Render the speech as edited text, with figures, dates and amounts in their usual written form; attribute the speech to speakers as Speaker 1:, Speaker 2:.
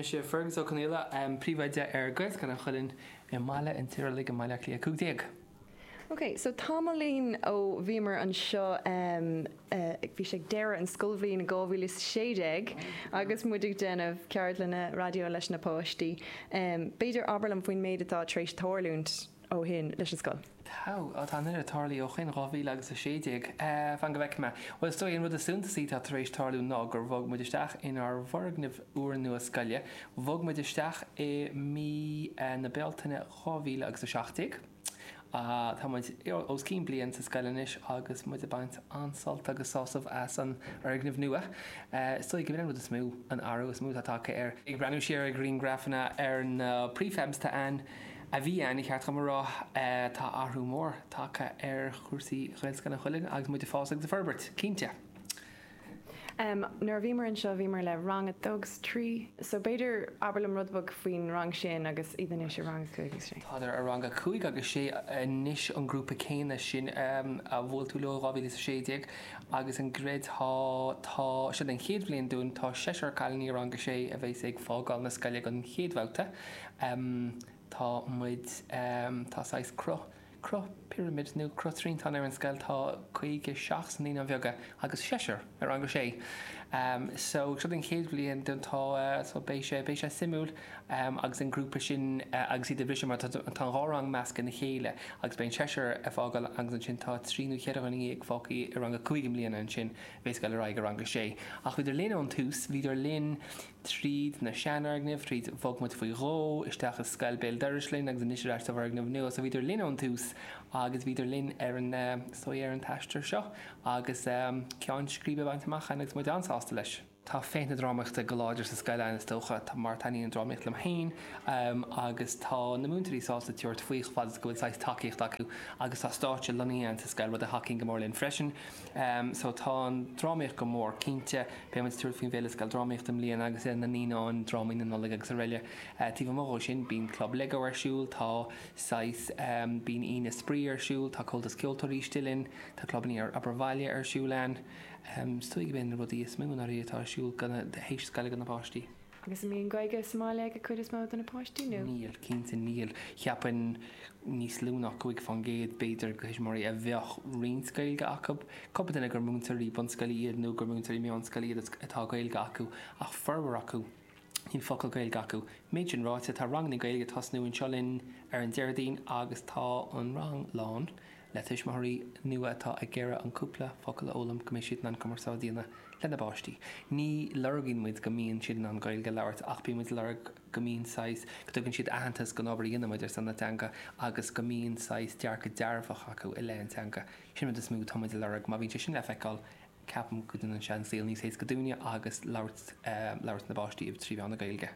Speaker 1: mise Fergus Ó Conghaile, Príomhoide ar Ghaelscoil an Chuilinn i mBaile an Tirialaigh i mBaile Átha Cliath 15.
Speaker 2: Ok, so tamaillín ó bhíomar anseo, bhí sé ag deireadh an scoilbhliain 2016 agus muid ag déanamh ceardlanna raidió leis na páistí. B'fhéidir abair liom faoin méid atá tar éis tarlúint ó shin leis an scoil.
Speaker 1: Tá, tá an oiread tarlaithe ó shin, 2016. Fan go bhfeicfidh mé. Bhuel, is dóigh an rud is suntasaí atá tar éis tarlú ná gur bhog muid isteach inár bhfoirgneamh úrnua scoile. Bhog muid isteach i mí na Bealtaine 2017. Tá muid os cionn bliain sa scoil anois agus muid ag baint an-sult agus sásamh as an fhoirgneamh nua. Is dóigh go b'in an rud is mó, an athrú is mó atá tagtha air. Ag breathnú siar ar ghrianghrafanna ar na prefabs atá ann, a bhí ann, ba cheart dom a rá, tá athrú mór tagtha ar chúrsaí Ghaelscoil an Chuilinn agus muid ag fás agus ag forbairt, cinnte.
Speaker 2: Nuair a bhíomar anseo bhíomar le rang a dó agus trí so b'fhéidir abair liom rud beag faoin rang sin agus iad anois i rang a cúig agus sé.
Speaker 1: Tádar i rang a cúig agus sé anois an grúpa céanna sin a bhuail tú leo i 2016 agus an gcreidfeá tá seo den chéad bhliain dúinn tá seisear cailíní i rang a sé a bheas ag fágáil na scoile don chéad bhabhta. Tá muid tá saghas cruth Cruth pirimid nó cruth triantán ar an scoil tá 57 sna Naíonáin Bheaga agus seisear i rang a sé. So seo den chéad bhliain dúinn tá so beidh sé beidh sé suimiúil agus an grúpa sin agus iad ag briseadh mar tá tá an dhá rang measctha ina chéile agus beidh an seisear ag fágáil agus ansin tá trí nó cheithre dhuine dhéag fágtha i rang a cúig i mbliana ansin a bheas ag dul ar aghaidh i rang a sé. Ach bhíodar linn ón tús, bhíodar linn tríd na seanfhoirgnimh, tríd, bhog muid faoi dhó isteach i scoil béal dorais linn agus anois ar ais sa bhfoirgneamh nua. So bhíodar linn ón tús agus bhíodar linn ar an, is dóigh, ar an t-aistear seo agus ceann scríbe bainte amach againn agus muid an-sásta leis. Tá féith na drámaíochta go láidir sa scoil againn is dócha, mar taitníonn an drámaíocht liom féin agus tá na múinteoirí sásta tabhairt faoi chomh fada is go bhfuil saghas tacaíocht acu agus tá stáitse lonnaithe againn sa scoil, rud a thacaíonn go mór linn freisin. So tá an drámaíocht go mór, cinnte. Beidh muid ag tabhairt faoin bhFéile Scoildrámaíochta i mbliana agus na naíonáin, drámaí na Nollag agus araile. Taobh amuigh dhó sin, bíonn Club Lego ar siúl, tá saghas, bíonn Aoine Spraoi ar siúl, tá Comhaltas Ceoltóirí istigh linn, tá clubanna obair bhaile ar siúl ann. Is dóigh go b'in na rudaí is mó i ndáiríre atá ar siúl théis scoile do na páistí.
Speaker 2: Agus an mbíonn Gaeilge sa mbaile ag an cuid is mó de na páistí nó?
Speaker 1: Níl, cinnte níl. Cheapfainn níos lú ná 5% b'fhéidir de thuismitheoirí a bheadh roinnt Gaeilge acu. Cúpla duine gur múinteoirí bunscoile iad nó gur múinteoirí meánscoile iad atá Gaeilge acu ach formhór acu níl focal Gaeilge acu. Méid sin ráite, tá ranganna Gaeilge ag tosnú anseo linn ar an Déardaoin agus tá an rang lán le tuismitheoirí nua atá ag iarraidh an cúpla focal a fhoghlaim go mbeidh siad in ann cumarsáid a dhéanamh lena bpáistí. Ní lorgaíonn muid go mbíonn siad in ann Gaeilge a labhairt ach bíonn muid ag lorg go mbíonn saghas, go dtugann siad aitheantas don obair a dhéanann muid ar son na teanga agus go mbíonn saghas dearcadh dearfach acu i leith an teanga. Sin an rud is mó atá muid ag lorg. Má bhíonn sé sin le feiceáil, ceapaim go ndéanann sé an saol níos éasca dúinne agus labhairt labhairt na bpáistí trí mheán na Gaeilge.